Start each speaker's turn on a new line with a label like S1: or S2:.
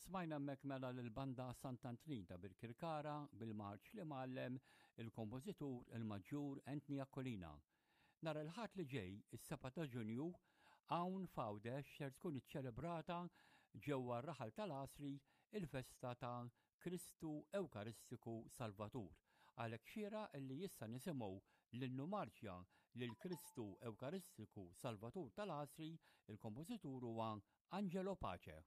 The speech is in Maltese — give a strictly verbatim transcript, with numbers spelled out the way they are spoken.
S1: Smajna hemmhekk mela l-banda Sant'Antnin ta' Birkirkara bil-marċ li mgħallem il-kompożitur il-Maġġur Anthony Aquilina. Nhar il-Ħadd li ġej, is-sebgħa ta' Ġunju, hawn f'Għawdex ser tkun iċċelebrata ġewwa r-raħal tal-Għasri il-festa ta' Kristu Ewkaristiku Salvatur. Għalhekk xieraq illi issa nisimgħu l-innu marċja lil Kristu Ewkaristiku Salvatur tal-Għasri, il-kompożitur huwa Angelo Pace.